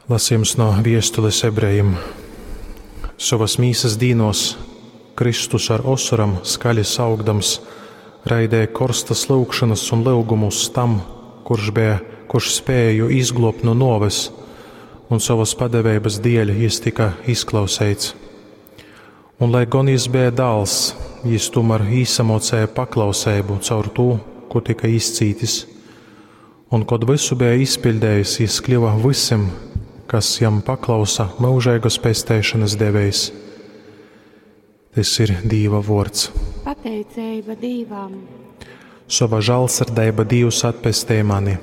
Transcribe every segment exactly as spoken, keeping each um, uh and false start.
Lasījums no viestules ebrejim. Sovas mīsas dīnos Kristus ar osoram skaļi saukdams raidēja korstas lyugšanas un lyugumus tam, kurš bija, kurš spēja jū izglobt no nuoves, un sovas padeveibas dieļ jis tika izklauseits. Un lai gon jis beja dāls, jis tomēr īsamocēja paklauseibu caur tū, ko tika izcītis. Un, kod vysu beja izpiļdējis, jis kļuva vysim, kas jam paklausa, myužeigas pesteišanas devējs. Tys ir Dīva vuords. Pateiceiba Dīvam. Sova žālsirdeiba Dīvs atpestej mani.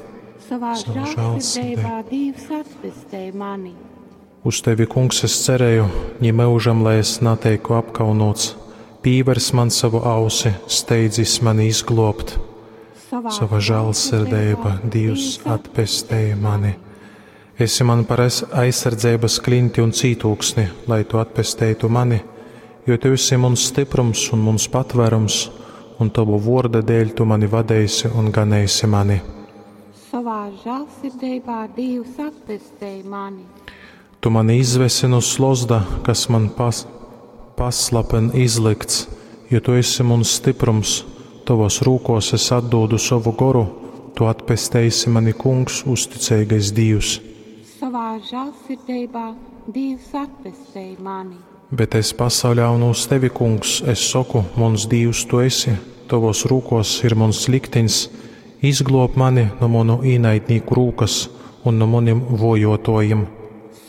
Savā Savā žālsirdībā Dievs atpestej mani. Uz tevi, kungs, es cerēju, ņi myužam, lai es nateiku apkaunots. Pīvers man savu ausi, steidzis mani izglobt. Savā, Sava žālsirdeiba Dīvs atpestej mani. Esi man par aiz- aizsardzeibas klinti un cītūksni, lai tu atpesteitu mani, jo tu esi muns stiprums un muns patvērums, un tavu vorda dēļ tu mani vadeisi un ganeisi mani. Savā žālsirdībā Dievs atpestej mani. Tu mani izvesi no slozda, kas man pas, paslapen izlikts, jo tu esi muns stiprums, tavos rūkos es atdodu savu goru, tu atpesteisi mani, kungs, uzticeigais Dīvs. Savā žālsirdībā Dievs atpestej mani. Bet es pasauļaunu uz tevi, kungs, es saku, muns Dīvs tu esi, tavos rūkos ir muns likteņs, izglob mani no manu īnaidnīku rūkas un no maniem vojotojiem.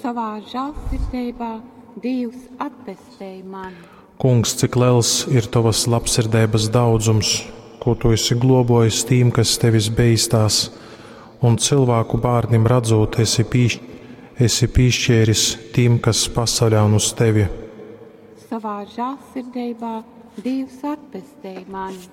Savā žālsirdībā Dievs atpestej mani. Kungs, cik liels ir tavas labsirdeibas daudzums, ko tu esi globojis tīm, kas tevis beistās, un cilvēku bārnim radzot, esi, pīš, esi pīšķēris tīm, kas pasaļaun uz tevi. Savā žālsirdībā Dievs atpestej mani.